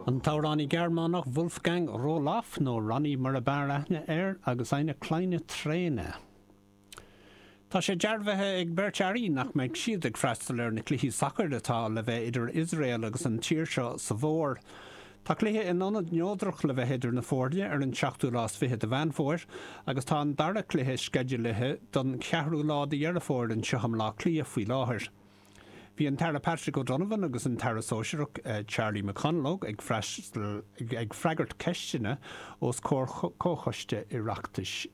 An t-amhránaí Gearmánach Wolfgang Roloff, nó Ronny mar ab fhearr aithne air, agus Eine kleine Träne. Tá sé dearbhaithe ag beirt airí nach mbeidh siad ag freastal ar na cluichí sacair atá le bheith idir Iosrael agus an tír seo sa bhfómhar. Tá cluiche in ionad neodrach le bheith idir na foirne ar an seachtú lá is fiche de Mheán Fómhair agus tá an dara cluiche sceidealaithe don cheathrú lá de Dheireadh Fómhair anseo i mBleá Cliath faoi láthair. Bhí an tAire Patrick O'Donovan agus an tAire Sóisearach Charlie McConalogue ag freastal ag freagairt ceisteanna os comhair Comhchoiste Oireachtais